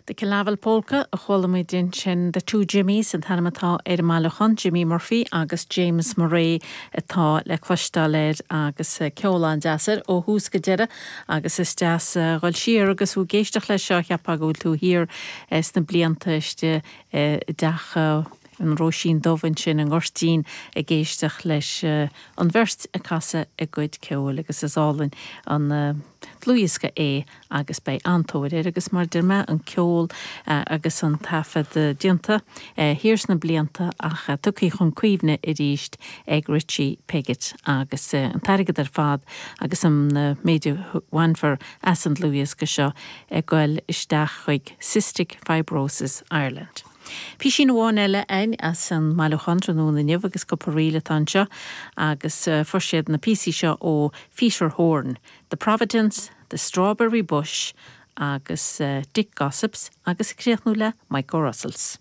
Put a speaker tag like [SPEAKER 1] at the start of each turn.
[SPEAKER 1] The Killavil Polka a chuala muid ansin, The Two Jimmies an t-ainm atá ar an mbailiúchán, Jimmy Murphy agus James Murray atá le cloisteáil air agus ceol an-deas air ó thús go deireadh agus is deas a dhul siar agus thú ag éisteacht leis seo, cheapfá go bhfuil tú thiar sna blianta istigh i dteach an Róisín Dubh ansin i nGoirtín ag éisteacht leis an bheirt ag casadh a gcuid ceoil agus is álainn an dlúthdhiosca é agus beidh an-tóir air agus mar a deir mé an ceol agus an taifead déanta thiar sna blianta ach tugtha chun cuimhne arís ag Richie Piggott agus an t-airgead ar fad agus an méid a bhainfear as an dlúthdhiosca seo ag goil isteach chuig Cystic Fibrosis Ireland. Písín amháin eile againn as an mbailiúchán tráthnóna inniu agus cúpla ríl atá anseo agus fuair siad na píosaí seo ó Pheter Horne, The Providence, The Strawberry Bush agus Dick Gossips agus ag críochnú le Mike O'Russells.